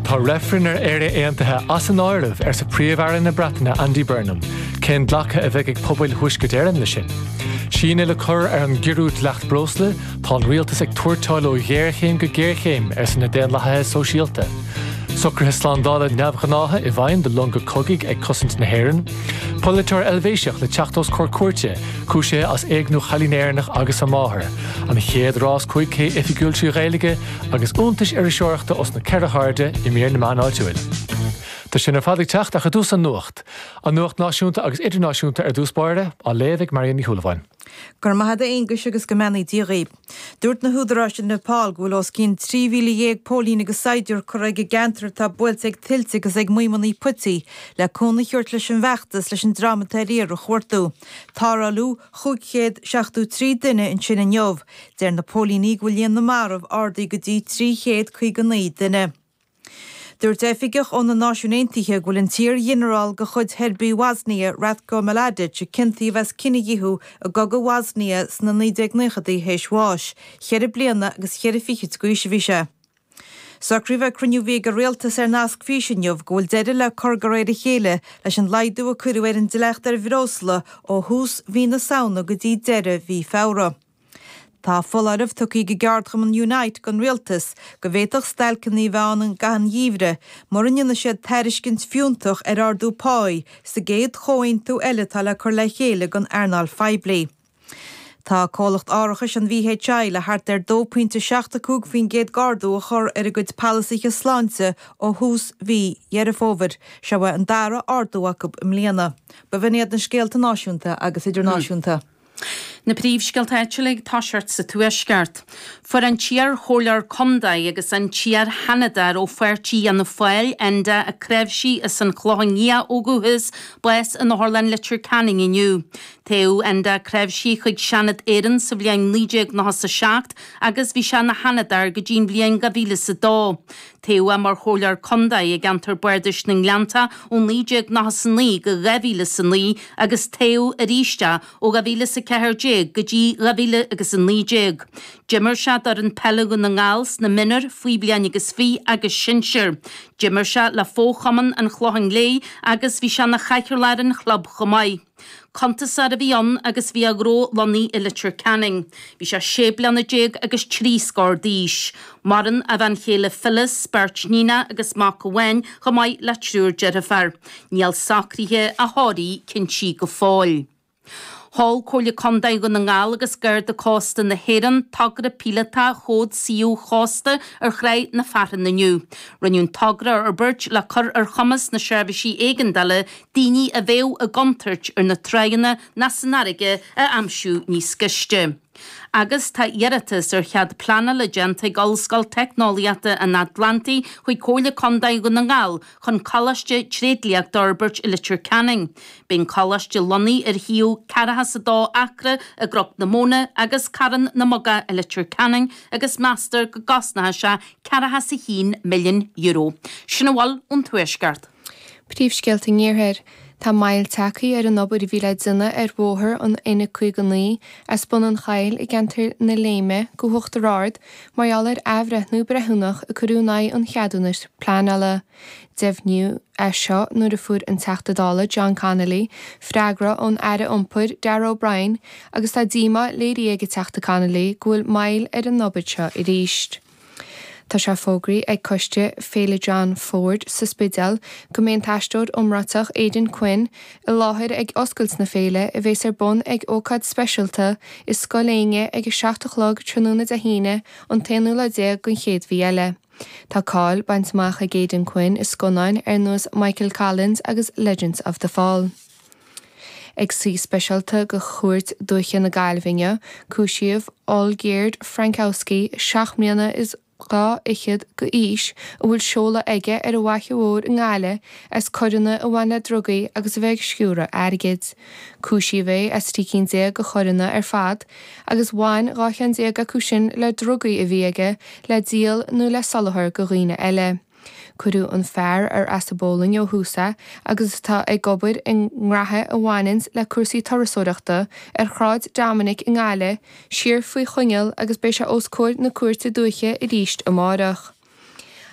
Tá reifreann ar Éire Aontaithe as an áireamh, arsa Príomh-Aire na Breataine Andy Burnham. Cén glacadh a bheidh ag pobail Thuaisceart Éireann leis sin? Síneadh le cur ar an gciorrú dleacht breosla, tá an rialtas ag tuairteáil ó ghéarchéim go géarchéim, arsa na Daonlathaithe Sóisialta. Socruithe slándála neamhghnácha i bhfeidhm do longa cogaidh ag cosaint na hÉireann. Polaiteoir Eilvéiseach le teacht os comhair cúirte, cúisithe as éigniú chailín Éireannach agus a máthar. An chéad rás 5K oifigiúil trí Ghaeilge agus iontais iriseoireachta os na ceithre hairde i mír na meán áitiúil. Tá sin ar fad ag teacht ach i dtús an nuacht. An nuacht náisiúnta agus idirnáisiúnta ar dtús báire, á léamh ag Marion Ní Shúilleabháin. Go raibh maith agat a Aonghuis agus go mbeannaí Dia dhaoib. Dúirt na húdaráis i Nepal go bhfuil os cionn 13,000 póilín agus saighdiúir curtha ag an gceantar atá buailte ag tuilte agus ag maidhmeanna puití le cúnamh a thabhairt leis an bhfeachtas leis an dream atá ar iarraidh a chuartú. Tarrtháladh 573 duine ansin inniu. Deir na póilíní go bhfuil líon na marbh ardaithe go dtí 359 duine. Dúirt oifigeach ó na Náisiúin Aontaithe go bhfuil an t-iar-ghinearál de chuid Sheirbigh Bhoisnia, Ratko Mladic, a ciontaíodh as cinedhíothú i gcogadh Bhoisnia sna 1990idí théis bháis. Cheithre bliana agus cheithre fichid d'aois a bhí sé. Socraíodh ag cruinniú a bhí ag an Rialtas ar nasc físe inniu go bhfuil deireadh le cur de réir a chéile leis an laghdú a cuireadh ar an dleacht ar bhreosla ó thús mhí na Samhna go dtí deireadh mhí Feabhra. Tá foláireamh tugtha ag an gceardchumann Unite don Rialtas go bhféadfadh stailceanna a bheith ann i gcaitheamh an gheimhridh mura ndéanfaidh siad tairiscint fiúntach ar ardú páí sa gcéad chomhaontú eile atá le cur le chéile don earnáil phoiblí. Tá comhlacht árachais an VHI le thart ar 2.75% d'ardú a chur ar a gcuid polasaithe sláinte ó thús mhí Dheireadh Fómhair. Seo é an dara ardú acu i mbliana. B'in iad na scéalta náisiúnta agus idirnáisiúnta. Na príomhscéalta áitiúla ag toiseacht sa Tuaisceart. Fuair an t-iar-chomhairleoir contae agus an t-iar-sheanadóir ó pháirtí Fhianna Fáil, Enda 'Ó Cnáimhsí as an Chlochán Liath ó dhúchas, bás in Otharlann Leitir Ceanainn inniu. Toghadh Enda Ó Cnáimhsí chuig Seanad Éireann sa bhliain 1997 agus bhí sé ina sheanadóir go dtí an bhliain 2002. Toghadh é mar chomhairleoir contae i gceantar bardais na nGleanntach ó 1999 go 2009 agus toghadh arís é ó 2014 go dtí 2019. D'imir sé d'fhoireann peile Dhún na nGall sna mionúir, faoi bhliain agus fiche agus sinsir. D'imir sé le fo-chumann an Chlocháin Léith agus bhí sé ina chathaoirleach ar an chlub chomh maith. Cuntasóir a bhí ann agus bhí a ghnó lonnaithe i Leitir Ceanainn. Bhí sé sé bliana déag agus trí scór d'aois. Maireann a bhean chéile Phyllis, beirt níonacha agus mac amháin chomh maith le triúr deirfiúr. Níl socruithe a thórraimh cinntí go fóill. Sheol Comhairle Contae Dhún na nGall agus Garda Cósta na hÉireann togra píolótach Chód Suíomh Chósta ar Thráigh na Fearthann inniu. Rinneadh an togra a fhorbairt le cur ar chumas na seirbhísí éigeandála daoine a bheadh i gcontúirt ar na tráigheanna ná san fharraige a aimsiú níos gaiste. Agus tá iarratas ar chead pleanála déanta ag Ollscoil Teicneolaíochta an Atlantaigh chuig Comhairle Contae Dhún na nGall chun Coláiste Tréidliachta a fhorbairt i Leitir Ceanainn. Beidh an coláiste lonnaithe ar shuíomh 42 acra i gCnoc na Móna agus Carn na mBogach i Leitir Ceanainn agus meastar go gcosnóidh sé €41 milliún. Sin a bhfuil ón Tuaisceart. Príomhscéalta an Iarthair. Tá moill tagtha ar an obair a bhí le déanamh ar bhóthar an N59 as Bun an Choill i gceantar na Léime go hUachtar Ard mar gheall ar athbhreithniú breithiúnach a cuireadh in aghaidh an cheadúnais pleanála. Deimhníodh é seo nuair a fuair an Teachta Dála John Connolly freagra ón Aire Iompair Darragh O'Brien agus tá díomá léirithe ag an Teachta Connolly go bhfuil moill ar an obair seo arís. Tá sé fógraithe ag coiste Féile John Ford sa Spidéal go mbeidh an t-aisteoir iomráiteach Aidan Quinn i láthair ag oscailt na féile a bheas ar bun ag ócáid speisialta i Scoil Éinne ag 7 a chlog tráthnóna Dé hAoine an t-aonú lá déag den chéad mhí eile. Tá cáil bainte amach ag Aidan Quinn i scannáin ar nós Michael Collins agus Legends of the Fall. Ag suí speisialta de Chúirt Dúiche na Gaillimhe inniu, cúisíodh Olgierd Frankowski, 7 mbliana is 2 fhichead d'aois, a bhfuil seoladh aige ar an bhFaiche Mhór i nGaillimh, as coireanna a bhain le drugaí agus a bheith ag sciúradh airgid. Cúisíodh é as 13 cinn de choireanna ar fad, agus bhain 12 cheann acu sin le drugaí a bhí aige le díol nó le soláthar do dhaoine eile. Cuireadh an fear, ar as an bPólainn ó thús é agus atá ag obair i ngraithe a bhaineanns le cúrsaí turasóireachta, ar Shráid Dominic i nGaillimh, siar faoi choinneáil agus beidh sé os comhair na Cúirte Dúiche arís amárach.